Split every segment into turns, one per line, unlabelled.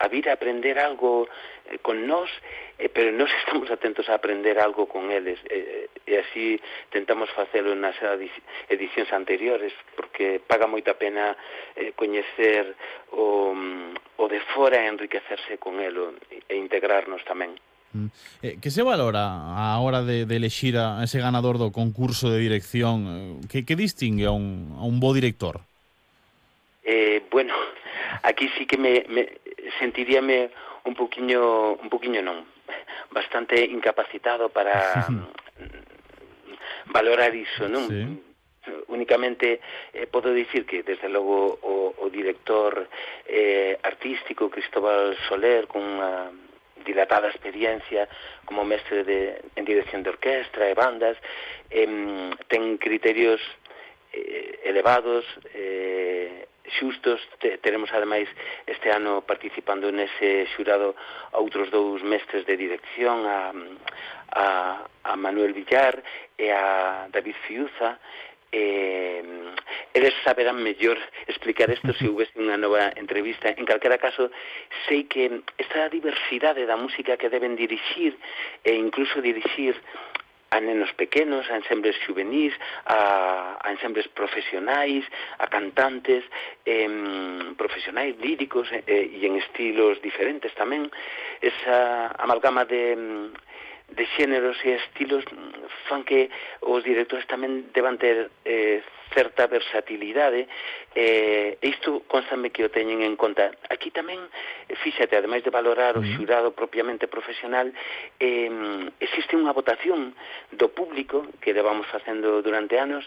a vir a aprender algo con nós, pero nós estamos atentos a aprender algo con eles, e así tentamos facelo nas edicións anteriores, porque paga moita pena coñecer o de fora e enriquecerse con elo e integrarnos tamén.
Que se valora a hora de elexir a ese ganador do concurso de dirección? Que distingue a un bo director?
Bueno, aquí sí que me sentiríame un poquinho non, bastante incapacitado para valorar iso, non?
Sí.
Únicamente podo dicir que desde logo o director artístico Cristóbal Soler, con unha dilatada experiencia como mestre en dirección de orquestra e bandas, ten criterios elevados, xustos. Teremos ademais este ano participando nese xurado a outros dous mestres de dirección, a Manuel Villar e a David Fiuza. Eles saberán mellor explicar isto se houvese unha nova entrevista. En calquera caso, sei que esta diversidade da música que deben dirixir e incluso dirixir a nenos pequenos, a ensembles juvenis, a ensembles profesionais, a cantantes profesionais líricos e en estilos diferentes tamén. Esa amalgama de xéneros e estilos fan que os directores tamén deban ter certa versatilidade, e isto constame que o teñen en conta. Aquí tamén, fíxate, ademais de valorar o xurado propiamente profesional, existe unha votación do público que levamos facendo durante anos,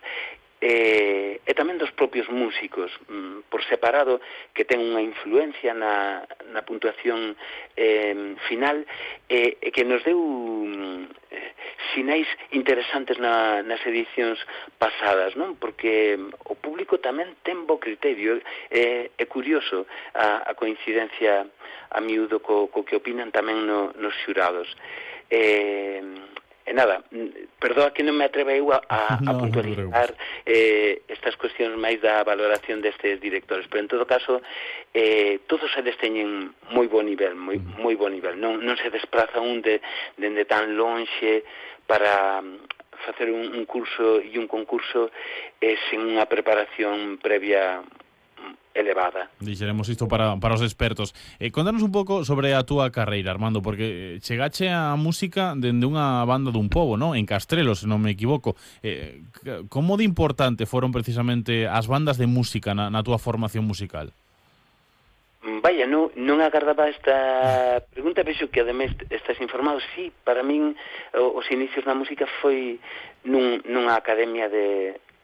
e tamén dos propios músicos por separado, que ten unha influencia na puntuación final, e que nos deu sinais interesantes nas edicións pasadas, non? Porque o público tamén ten bo criterio. É curioso a coincidencia a miúdo co que opinan tamén nos xurados. E nada, perdoa que non me atreve eu a puntualizar estas cuestións máis da valoración destes directores, pero en todo caso todos eles teñen moi bo nivel, moi bo nivel. Non se despraza un dende tan lonxe para facer un curso e un concurso sen unha preparación previa elevada.
Dixeremos isto para os expertos. Contanos un pouco sobre a túa carreira, Armando, porque chegache a música dende unha banda dun pobo, non? En Castrelo, se non me equivoco. Como de importante foron precisamente as bandas de música na túa formación musical?
Vaya, non agardaba esta pregunta, vexo que ademais estás informado. Sí, para min os inicios na música foi nunha academia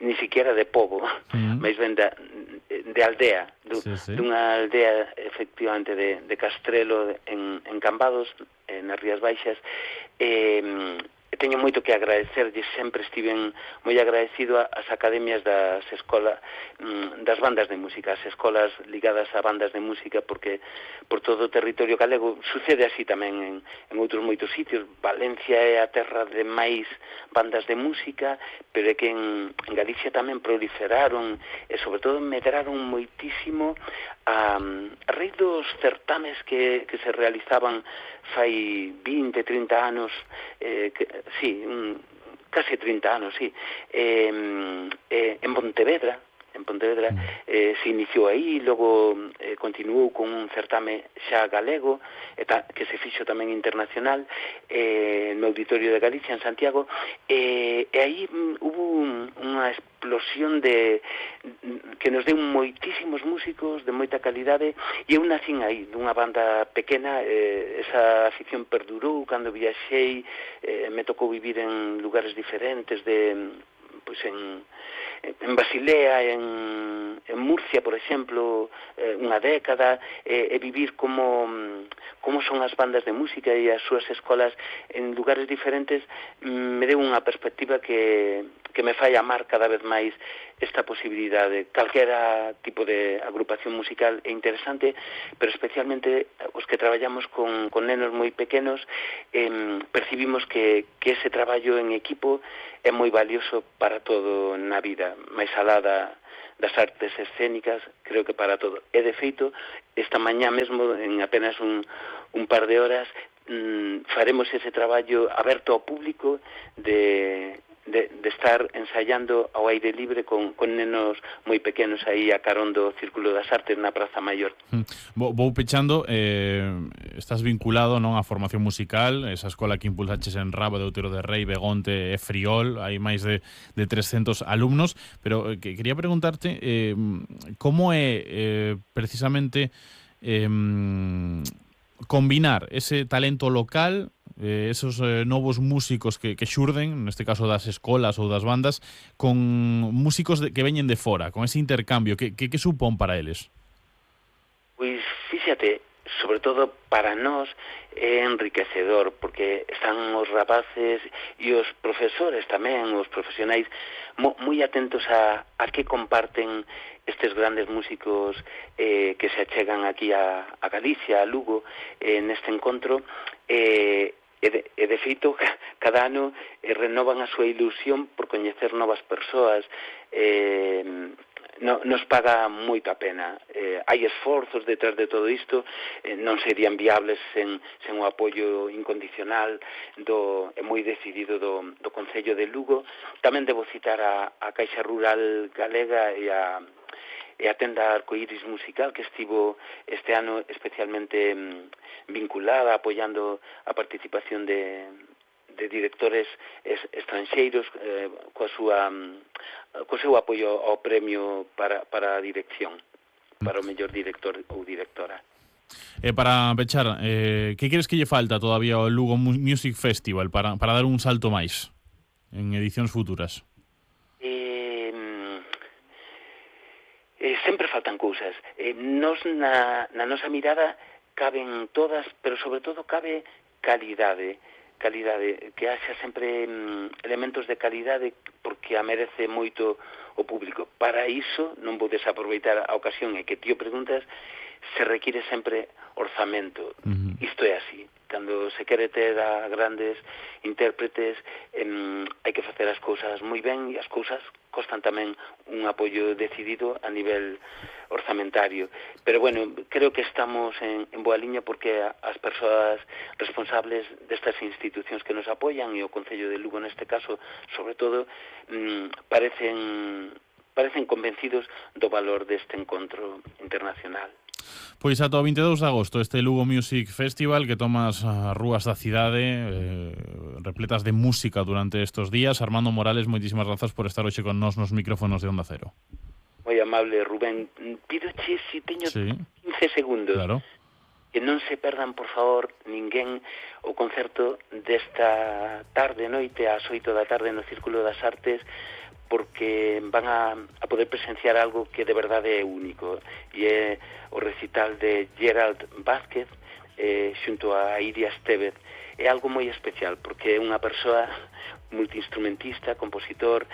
ni siquiera de pobo, máis ben de aldea, dunha aldea efectivamente de Castrelo, en Cambados, nas Rías Baixas. Teño moito que agradecerlle, sempre estiven moi agradecido ás academias das escolas, das bandas de música, as escolas ligadas a bandas de música, porque por todo o territorio galego sucede así tamén en outros moitos sitios. Valencia é a terra de máis bandas de música, pero é que en Galicia tamén proliferaron e sobre todo medraron moitísimo a raíz dos certames que se realizaban fai 20, 30 anos, case 30 anos, en Pontevedra. Se iniciou aí, logo continuou con un certame xa galego, que se fixo tamén internacional no Auditorio de Galicia en Santiago, e aí hubo unha explosión que nos deu moitísimos músicos de moita calidade, e eu nacín aí dunha banda pequena. Esa afición perdurou cando viaxei, me tocou vivir en lugares diferentes en Basilea, en Murcia, por exemplo, unha década, e vivir como son as bandas de música e as súas escolas en lugares diferentes me deu unha perspectiva que me fai amar cada vez máis esta posibilidade. Calquera tipo de agrupación musical é interesante, pero especialmente os que traballamos con nenos moi pequenos, percibimos que ese traballo en equipo é moi valioso para todo na vida, máis alá das artes escénicas, creo que para todo. E de feito, esta mañá mesmo, en apenas un par de horas, faremos ese traballo aberto ao público de estar ensaiando ao aire libre con nenos moi pequenos aí a carón do Círculo das Artes na Praza Maior.
Vou pechando, estás vinculado, non, á formación musical, esa escola que impulsaches en Rabo, de Outero de Rei, Begonte e Friol, hai máis de 300 alumnos, pero quería preguntarte como é precisamente combinar ese talento local, esos novos músicos que xurden, neste caso das escolas ou das bandas, con músicos que veñen de fora, con ese intercambio, que supón para eles?
Pois, fíxate, sobre todo para nós é enriquecedor, porque están os rapaces e os profesores tamén, os profesionais, moi atentos a que comparten estes grandes músicos que se achegan aquí a Galicia, a Lugo, neste encontro, e de feito, cada ano renovan a súa ilusión por coñecer novas persoas. Nos paga moito a pena. Hai esforzos detrás de todo isto, non serían viables sen o apoio incondicional e moi decidido do Concello de Lugo. Tamén debo citar a Caixa Rural Galega e a tenda Arcoiris Musical, que estivo este ano especialmente vinculada, apoiando a participación de directores estranxeiros co seu apoio ao premio para a dirección, para o mellor director ou directora.
Para pechar, que crees que lle falta todavía ao Lugo Music Festival para dar un salto máis en edicións futuras?
Sempre faltan cousas. Nos na nosa mirada caben todas, pero sobre todo cabe calidade, que haxa sempre elementos de calidade, porque a merece moito o público. Para iso, non vou desaproveitar a ocasión e que ti o preguntas, se require sempre orzamento. Isto é así. Cando se quere ter a grandes intérpretes, hai que facer as cousas moi ben, e as cousas costan tamén un apoio decidido a nivel orzamentario. Pero bueno, creo que estamos en boa liña, porque as persoas responsables destas institucións que nos apoian, e o Concello de Lugo neste caso, sobre todo, parecen convencidos do valor deste encontro internacional.
Pois ata o 22 de agosto este Lugo Music Festival, que toma as rúas da cidade repletas de música durante estes días. Armando Morales, moitísimas grazas por estar hoxe con nós nos micrófonos de Onda Cero.
Moi amable, Rubén. Pídoche se teño 15 segundos.
Claro.
Que non se perdan, por favor, ninguén o concerto desta tarde, noite, ás 8 da tarde no Círculo das Artes, porque van a poder presenciar algo que de verdade é único, e é o recital de Gerald Vázquez xunto a Iria Estevez. É algo moi especial, porque é unha persoa multiinstrumentista, compositor,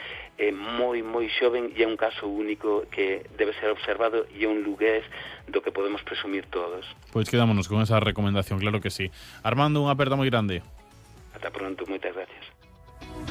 moi xoven, e é un caso único que debe ser observado, e é un lugués do que podemos presumir todos.
Pois quedámonos con esa recomendación, claro que sí. Armando, unha aperta moi grande.
Ata pronto, moitas gracias.